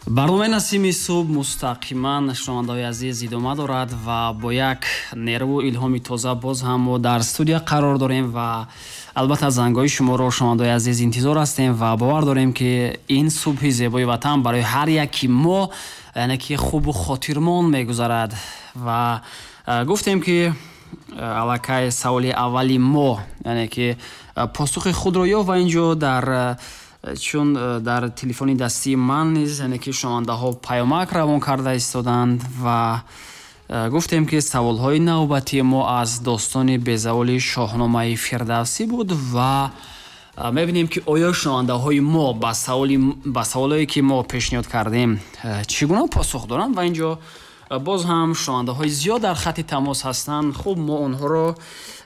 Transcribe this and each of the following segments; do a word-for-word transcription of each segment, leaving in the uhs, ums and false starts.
Барномаи Насими субҳ мустақиман, шунавандаҳои азиз, идома дорад ва бо як нерву илҳоми тоза боз ҳам мо дар студия қарор дорем ва албатта зангҳои шуморо, шунавандаҳои азиз, интизор ҳастем ва бовар дорем, ки ин субҳи зебои ватан барои ҳар яки мо, яъне ки, хубу хотирмон мегузарад. Ва гуфтем, ки аллакай саволи аввали мо, яъне ки, посухи худро ёфт ва инҷо дар чун дар телефони дастии ман низ, яъне ки, шунавандаҳо паёмак равон карда истоданд ва гуфтем, ки саволҳои навбатии мо аз достони безаволи Шоҳномаи Фирдавсӣ буд ва мебинем, ки оё шунавандаҳои мо ба саволи ба саволое, ки мо пешниҳод кардем, чӣ гуна посух доранд. Ва инҷо боз ҳам шунавандаҳои зиёд дар хатти тамос ҳастанд. Хуб, мо онҳоро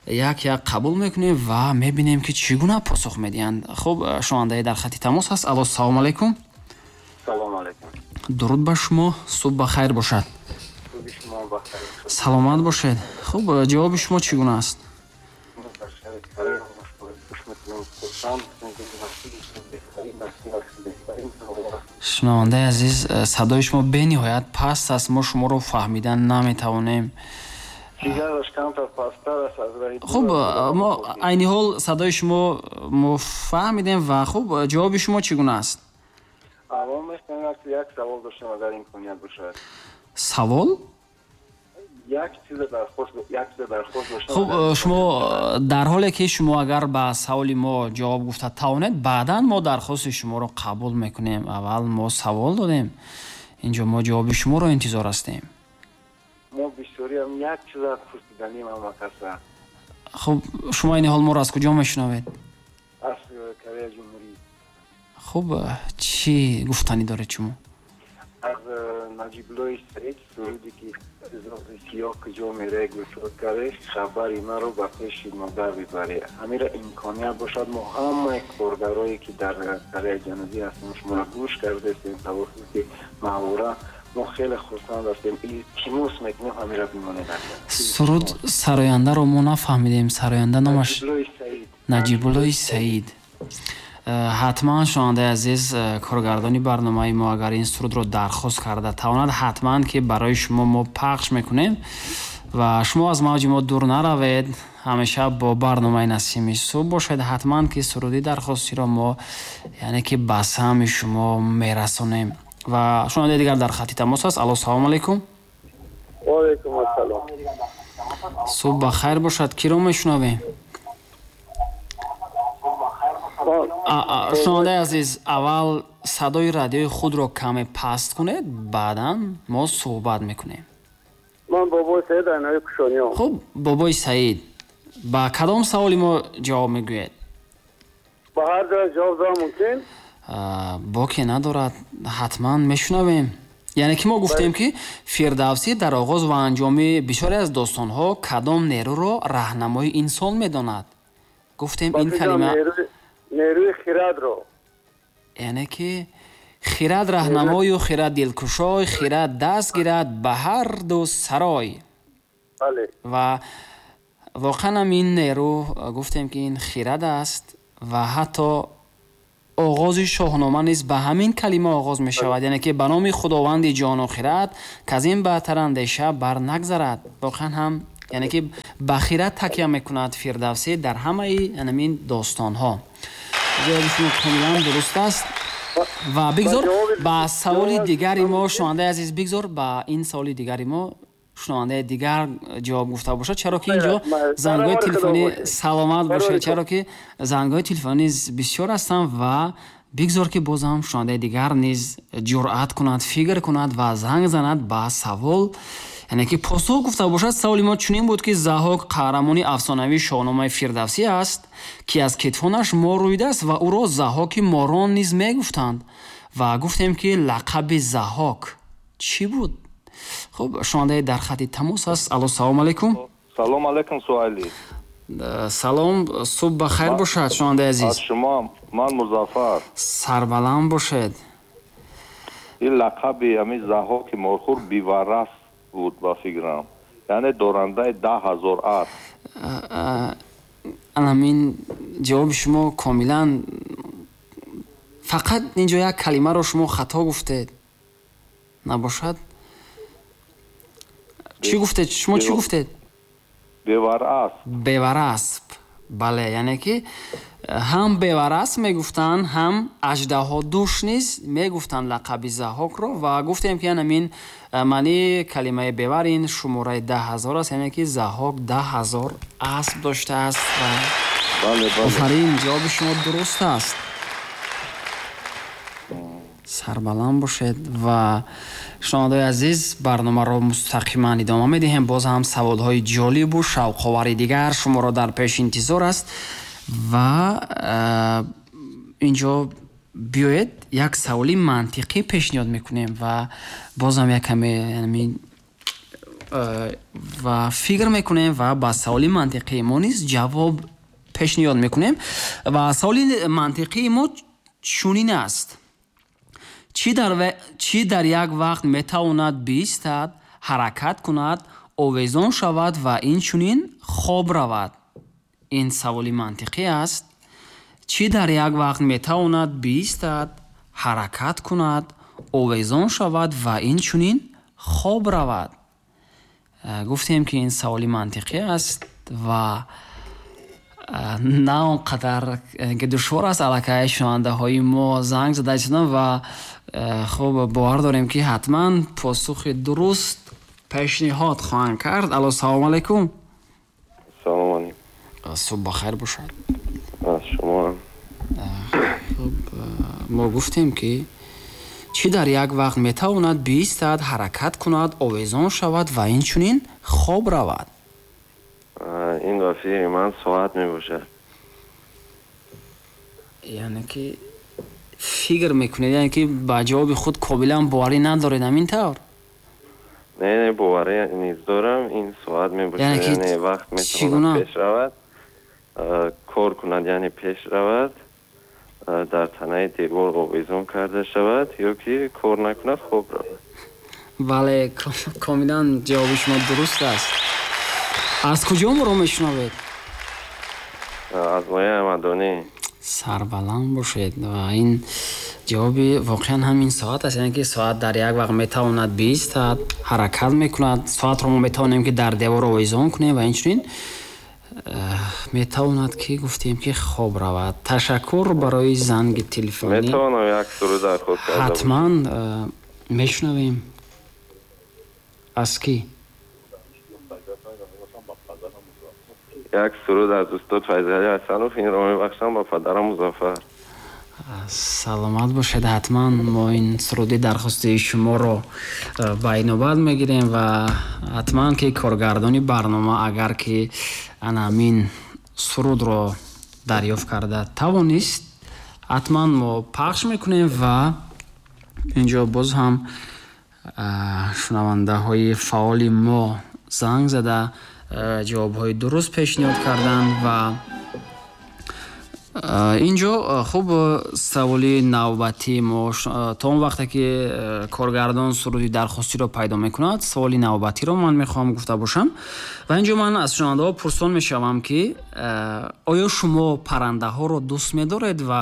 як як қабул мекунем ва мебинем, ки чӣ гуна посух медиҳанд. Хуб, шунавандае дар хатти тамос ҳаст. Алло, салому алайкум. Салому алайкум. Дуруд ба шумо, субҳ ба хайр бошад. Субҳи шумо ба хайр. Саломат бошед. Хуб, ҷавоби шумо чӣ гуна аст? Шунавандаи азиз, садои шумо бениҳоят паст аст, мо шуморо фаҳмида наметавонем. Хуб, мо айни ҳол садои шумо мо фаҳмидем ва хуб, ҷавоби шумо чӣ гуна аст? Аввал мехоҳам як савол доштам, агар имконият бошад. Савол? Як чиза дархост, як чиза дархост доштам. Хуб, шумо дар ҳоле ки шумо агар ба саволи мо ҷавоб гуфта тавонед, баъдан мо дархости шуморо қабул мекунем. Аввал мо савол додем, инҷо мо ҷавоби шуморо интизор ҳастем. Мо бисёриам як чиза пурсиданем ҳама каса. Хуб, шумо ин ҳол моро аз куҷо мешунавед? Аз Кореяи Ҷумҳурӣ. Хуб, чӣ гуфтанӣ доред шумо? Аз Наҷибуллои Саид суруде, ки зоғи сиёҳ куҷо меравӣ, гӯшод карда, хабари маро ба пеши модар бибарӣ. Ҳамира имконият бошад, мо ҳамаи коргарое, ки дар Кореяи Ҷанубӣ ҳастем, шуморо гӯш кардаистем тавассути маҳвора. Мо хеле хурсанд ҳастем, илтимос мекунем, ҳамира бимонед. Суруд сарояндаро мо нафаҳмидем. Сароянда номаш Наҷибуллои Саид. Ҳатман, шунавандаи азиз, коргардони барномаи мо агар ин сурудро дархост карда тавонад, ҳатман ки барои шумо мо пахш мекунем ва шумо аз мавҷи мо дур наравед, ҳамеша бо барномаи Насими субҳ бошед. Ҳатман ки суруди дархостиро мо, яъне ки, ба самъи шумо мерасонем. Ва шунавандаи дигар дар хатти тамос аст. Алло, салому алайкум. Ва алайкум ассалом. Субҳ ба хайр бошад. Киро мешунавем? Шунавандаи азиз, аввал садои радиои худро каме паст кунед, баъдан мо суҳбат мекунем. Ман Бобои Саид, Айнои Кушониён. Хуб, Бобои Саид, ба кадом саволи мо ҷавоб мегӯед? Ба ҳар ҷой ҷавоб додам мумкин? Боке надорад, ҳатман мешунавем. Яъне ки мо гуфтем, ки Фирдавсӣ дар оғоз ва анҷоми бисёре аз достонҳо кадом нерӯро раҳнамои инсон медонад? Гуфтем ин калима нерӯи хирадро. Яъне ки хирад раҳнамою хирад дилкушой, хирад даст гирад ба ҳар ду сарой. Ва воқеан ҳам ин нерӯ, гуфтем, ки ин хирад аст ва ҳатто оғози Шоҳнома низ ба ҳамин калима оғоз мешавад, яъне ки ба номи Худованди ҷону хирад, к аз ин баҳтар андеша бар нагзарад. Воқеан ҳам, яъне ки, ба хирад такя мекунад Фирдавсӣ дар ҳамаи ҳамин достонҳо. Ҷавоби шумо комилан дуруст аст ва бигзор ба саволи дигари мо, шунавандаи азиз, бигзор ба ин саволи дигари мо шунавандаи дигар ҷавоб гуфта бошад, чаро ки инҷо зангҳои телефонӣ, саломат бошед, чаро ки зангҳои телефонӣ бисёр ҳастанд ва бигзор ки боз ҳам шунавандаи дигар низ ҷуръат кунад, фикр кунад ва занг занад, ба савол, яъне ки, посух гуфта бошад. Саволи мо чунин буд, ки Заҳок қаҳрамони афсонавии Шоҳномаи Фирдавсӣ аст, ки аз кетфонаш мор рӯидааст ва ӯро Заҳоки морон низ мегуфтанд. Ва гуфтем, ки лақаби Заҳок чӣ буд? Хуб, шунавандаи дар хатти тамос аст. Алло, салому алайкум. Салом алайкум, Суҳайли. Салом, субҳ ба хайр бошад, шунавандаи азиз. Аз шумо ман Музаффар. Сарбаланд бошед. Ин лақаби ҳамин Заҳоки морхӯр Биварас буд, ба фикрам, яъне дорандаи даҳ ҳазор асп. Анамин ҷавоби шумо комилан, фақат инҷо як калимаро шумо хато гуфтед. Набошад? Чӣ гуфтед? Шумо чӣ гуфтед? Беварасп. Беварасп. Бале, яъне ки ҳам беварасп мегуфтанд, ҳам аждаҳодуш низ мегуфтанд лақаби Заҳҳокро ва гуфтем ки ҳамин маънии калимаи бевар ин шумораи даҳ ҳазор аст, яъне ки Заҳҳок даҳ ҳазор асп доштааст ва бале, бале. Офарин, ҷавоби шумо дуруст аст. Сарбаланд бошед ва шунавандаҳои азиз, барномаро мустақиман идома медиҳем. Боз ҳам саволҳои ҷолибу шавқовари дигар шуморо дар пеш интизор аст ва инҷо биёед як саволи мантиқӣ пешниҳод мекунем ва бозам як каме ва фикр мекунем ва ба саволи мантиқии мо низ ҷавоб пешниҳод мекунем. Ва саволи мантиқии мо чунин аст: чӣ дар, чӣ дар як вақт метавонад биистад, ҳаракат кунад, овезон шавад ва инчунин хоб равад? Ин саволи мантиқӣ аст. Чӣ дар як вақт метавонад биистад, ҳаракат кунад, овезон шавад ва инчунин хоб равад? Гуфтем ки ин саволи мантиқӣ аст ва на он қадар ки душвор аст. Аллакай шунавандаҳои мо занг зада истоданд ва хуб бовар дорем ки ҳатман посухи дуруст пешниҳод хоҳанд кард. Алло, салому алайкум. Салому алайкум. Субҳ бахайр бошад. Аз шумо. Хуб, мо гуфтем ки чӣ дар як вақт метавонад биистад, ҳаракат кунад, овезон шавад ва инчунин хоб равад? Ин ба фикри ман соат мебошад. Яъне ки фикр мекунед, яъне ки ба ҷавоби худ комилан боварӣ надоред, ҳамин тавр? Не, не, боварӣ низ дорам. Ин соат мебошад, яъне вақт метавонад пеш равад, кор кунад, яъне пеш равад, дар танаи девор овезон карда шавад ё ки кор накунад, хоб равад. Бале, комилан ҷавоби шумо дуруст аст. Аз куҷо моро мешунавед? Аз ноҳияи Ҳамадонӣ. Сарбаланд бошед. Ва ин ҷавоби воқеан ҳамин соат аст, яъне ки соат дар як вақт метавонад биистад, ҳаракат мекунад. Соатро мо метавонем ки дар девор овезон кунем ва инчунин метавонад ки гуфтем ки хоб равад. Ташаккур барои занги телефонӣ. Метавонам як суруд дархост карда бошам? Ҳатман мешунавем. Аз кӣ? Як суруд аз устод Файзалӣ Ҳасанов, инро мебахшам ба падарам Музаффар. Саломат бошед. Ҳатман мо ин суруди дархости шуморо ба инобат мегирем ва ҳатман ки коргардони барнома агар ки ана ҳамин сурудро дарёфт карда тавонист, ҳатман мо пахш мекунем ва инҷо боз ҳам шунавандаҳои фаъоли мо занг зада ҷавобҳои дуруст пешниҳод карданд ва инҷо хуб саволи навбатии мо то он вақте ки коргардон суруди дархостиро пайдо мекунад, саволи навбатиро ман мехоҳам гуфта бошам ва инҷо ман аз шунавандаҳо пурсон мешавам ки оё шумо паррандаҳоро дӯст медоред ва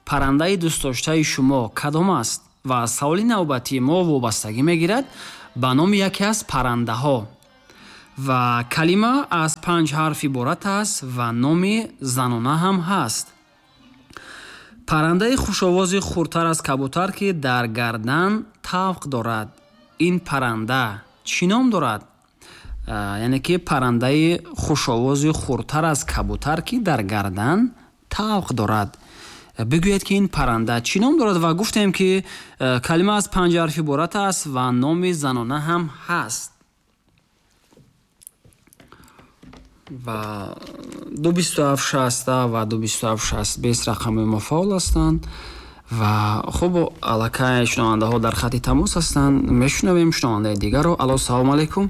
паррандаи дӯстдоштаи шумо кадом аст? Ва саволи навбатии мо вобастагӣ мегирад ба номи яке аз паррандаҳо ва калима аз панҷ ҳарф иборат аст ва номи занона ҳам ҳаст. Паррандаи хушовози хурдтар аз кабутар ки дар гардан тавқ дорад. Ин парранда чӣ ном дорад? Яъне ки паррандаи хушовози хурдтар аз кабутар ки дар гардан тавқ дорад. Бигӯед ки ин парранда чӣ ном дорад ва гуфтем ки калима аз панҷ ҳарф иборат аст ва номи занона ҳам ҳаст. Ва ду бисту ҳафт шаста ва ду бисту ҳафт шаст бист рақами мо фаъол ҳастанд ва хуб аллакай шунавандаҳо дар хати тамос ҳастанд. Мешунавем шунавандаи дигарро. Алло, салому алайкум.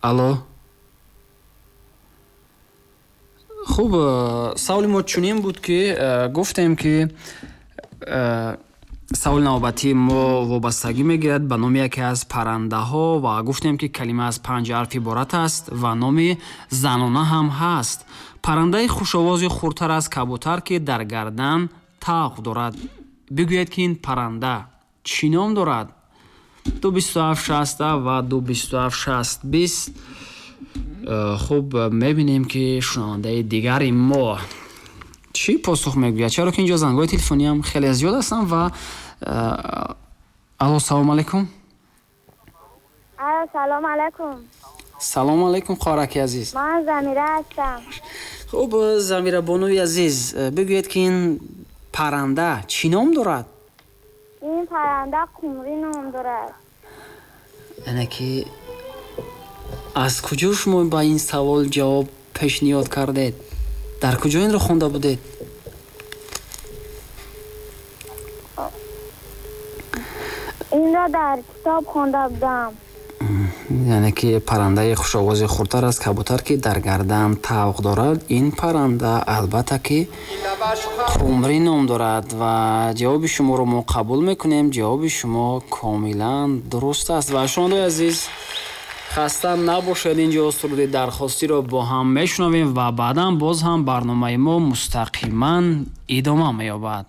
Алло. Хуб, саволи мо чунин буд ки гуфтем ки саволи навбатии мо вобастагӣ мегирад ба номи яке аз паррандаҳо ва гуфтем ки калима аз панҷ ҳарф иборат аст ва номи занона ҳам ҳаст. Паррандаи хушовози хурдтар аз кабутар ки дар гардан тавқ дорад. Бигӯед, ки ин парранда чӣ ном дорад? Ду бисту ҳафт шаст ва ду бисту ҳафт шаст бист. Хуб, мебинем, ки шунавандаи дигари мо чӣ посух мегӯяд, чаро ки инҷо зангҳои телефониам хеле зиёд ҳастанд. Ва алло, салом алайкум. Алло, салом алайкум. Салом алайкум, хоҳараки азиз. Ман Замира ҳастам. Хуб, Замира бонуи азиз, бигӯед, ки ин парранда чӣ ном дорад? Ин парранда қумрӣ ном дорад. Яъне ки аз куҷо шумо ба ин савол ҷавоб пешниҳод кардед? Дар куҷо инро хонда будед? Инро дар китоб хонда будам. Яъне ки паррандаи хушовози хурдтар аз кабутар, ки дар гардан тавқ дорад, ин парранда албатта ки қумрӣ ном дорад. Ва ҷавоби шуморо мо қабул мекунем. Ҷавоби шумо комилан дуруст аст. Ва шунавандаои азиз, хаста набошед, инҷо суруди дархостиро бо ҳам мешунавем ва баъдан боз ҳам барномаи мо мустақиман идома меёбад.